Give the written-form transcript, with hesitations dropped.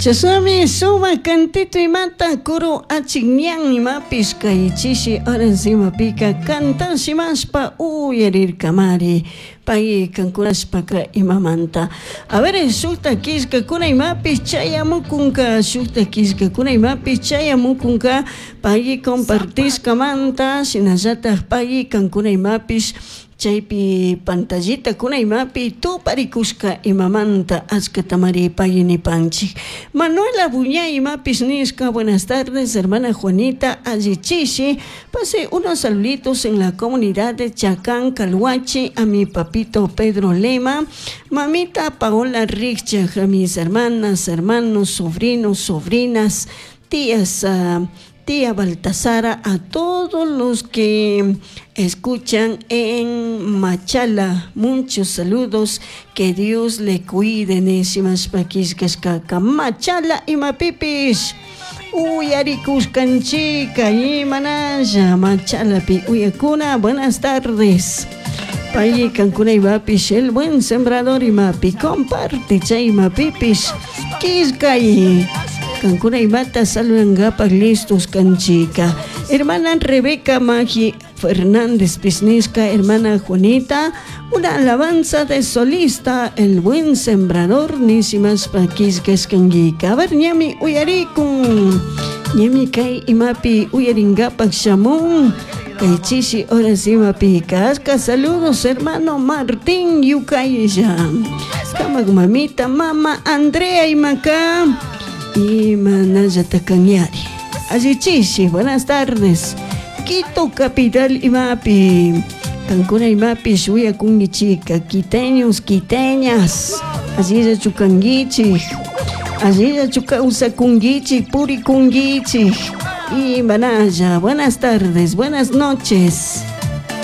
Chashnami sumak cantito imata kuru achikñan imapish kay chishi horas imapika cantanshimashpa uyarirkamari pay kankunashpaka imamanta. A ver, shukta killkakuna imapish chayamukunka, shukta killkakuna imapish chayamukunka pay compartishkamanta shinallatak pay kankuna imapish chaypi pantallitakuna imapi tuparikushka imamanta achkatamari pay nipanchik. Manuela Buñay imapish nishka buenas tardes hermana Juanita allichishi pase unos saluditos en la comunidad de Chacán Calhuachi a mi papito Pedro Lema, mamita Paola Richach, a mis hermanas, hermanos, sobrinos, sobrinas, tías, tía Baltasara, a todos los que escuchan en Machala, muchos saludos, que Dios le cuide, nishimashpa killkashkaka Machala imapipish uyarikushkanchika imanalla Machalapi uyakuna, buenas tardes. Pay kankuna imapish el buen sembrador imapi comparte chay imapipish killkay kankuna imata saludangapak listos kanchika. Hermana Rebeca Magi Fernández Pisnisca, hermana Juanita, una alabanza de solista, el buen sembrador, nishimashpa killkashkankika. A ver, ñami uyarikun, ñami kay imapi uyaringapak shamun, kay chishi horas imapi kashka. Saludos, hermano Martín Yucaylla, kamak mamita, mama Andrea imaka, imanallata kanyari. Allichishi, buenas tardes. Quito capital imapi, kankuna imapi shuyakunkichika, quiteños, quiteñas, allillachu kankichik, allillachu kawsakunkichik, purikunkichik, imanalla, buenas tardes, buenas noches.